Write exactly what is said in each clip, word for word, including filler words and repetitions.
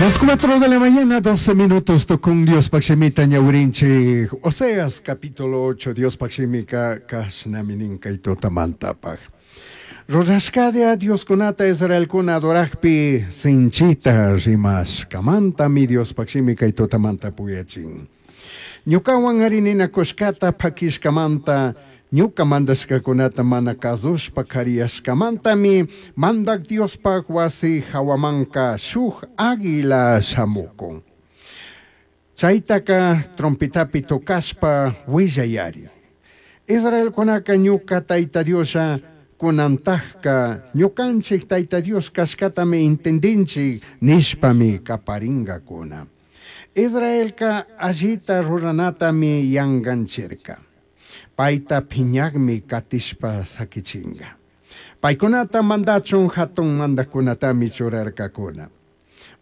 Las cuatro de la mañana, doce minutos, tucun Diospaj shimita ñawirinchij. Oseas capítulo ocho, Diospaj shimica cashnami nin cai tutamantapaj. Rurashcalla Dioscunata Israelcuna adorajpi sinchita rimashcamantami Diospaj shimi cai tutamanta puyachin. Ñucahuan ari ninacushcata paquishcamanta, ñuca mandashcacunata mana cazushpa cariyashcamantami Mandaj Diospaj huasi jahuamanca shuj águila shamucun. Chaitaca trompetapi tocashpa huillayari. Israelcunaca ñuca Taita Dioslla cunantajca ñucanchij Taita Dios cashcatami entendinchij nishpami caparingacuna. Israelca allita ruranatami yanganchirca. Paita piñagmi catishpa saquichinga. Paicunata mandachun jatun mandacunatami churarcacuna.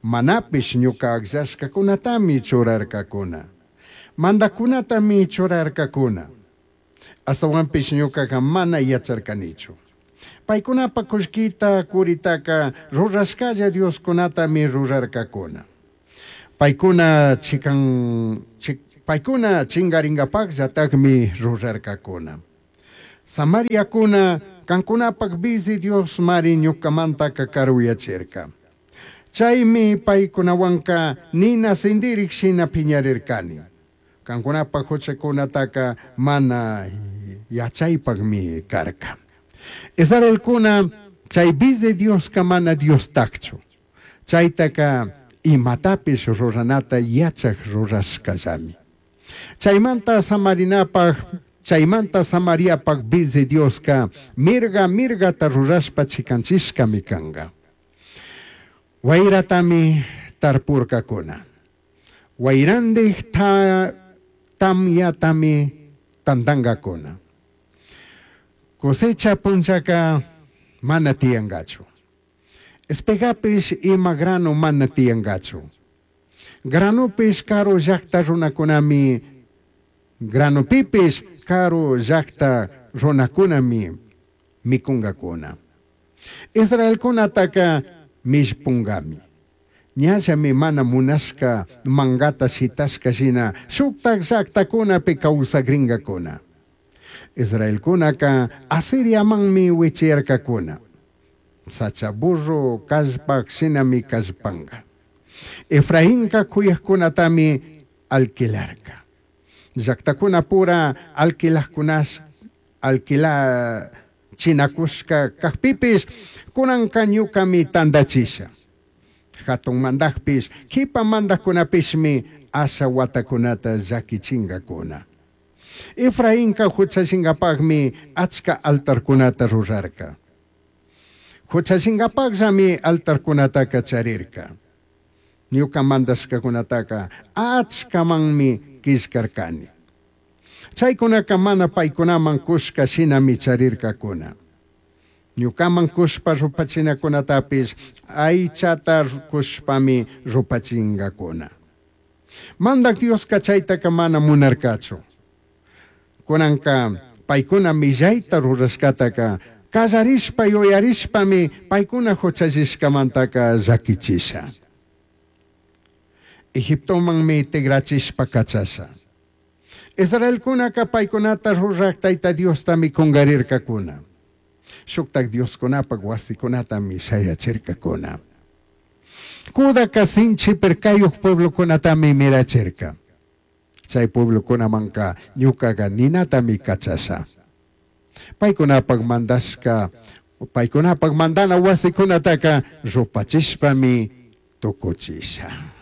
Manapish ñuca agllashcacunatami churarcacuna. Mandacunatami churarcacuna. Astawanpish ñucaca mana yacharcanichu. Paicunapa cullquita curitaca rurashcalla Dioscunatami rurarcacuna. Paicuna chican chi, paicuna chingaringapajllatajmi rurarcacuna. Samariacuna cancunapaj bizi Dios mari ñucamantaca caruyachirca. Chaimi paicunahuanca nina sindirij shina piñarircani. Cancunapaj juchacunataca mana yachaipajmi carca. Israelcuna chay bizi Diosca mana Diostajchu. Chaitaca imatapish ruranata yachaj rurashcallami. Chaymanta Samarinapaj, chaymanta Samariapaj bizi Diosca mirga mirgata rurashpa chicanchishcami canga. Wayratami tarpurcacuna. Wayrandij ta, tamyatami tandangacuna. Cosecha punllaca mana tiyangachu. Espegapish ima grano mana tiyangachu. Granopish karu llajta runakunami, granopipish karu llajta runakunami mikungakuna. Israelkunataka mishpungami. Ñallami mana munashka mangata shitashka shina shuktak llaktakunapi kawsakrinkakuna. Israelkunaka Asiriamanmi wichiyarkakuna. Sacha burro kallpak shinami kallpanka. Efrainka kuyajkunatami alquilarka. Llaktakuna pura alquilajkunash alquila chinakushka kajpipish kunanka ñukami tandachisha. Hatun mandajpish kipa mandajkunapishmi asha watakunata llakichinkakuna. Efrainka huchachingapajmi achka altarkunata rurarka. Huchachingapajllami altarkunataka charirka. Ñuka mandashkakunataka achkamanmi killkarkani. Chaykunaka mana paykunaman kushka shinami charirkakuna. Ñukaman kushpa rupachinakunatapish aychata kushpami rupachinkakuna. Mandak Dioska chaytaka mana munarkachu. Kunanka paykuna millayta rurashkataka kallarishpa yuyarishpami paykuna huchallishkamantaka llakichisha. Egiptomanmi tigrachishpa kachasha. Israelkunaka paykunata ruraj Tayta Diostami kungarirkakuna. Shuktak Dioskunapak wasikunatami shayachirkakuna. Judaka sinchi pirkayuq pueblokunatami mirachirka. Chay pueblokunamanka ñukaqa ninatami kachasha. Paykunapak mandashka, paykunapak mandana wasikunataka rupachishpami tukuchisha.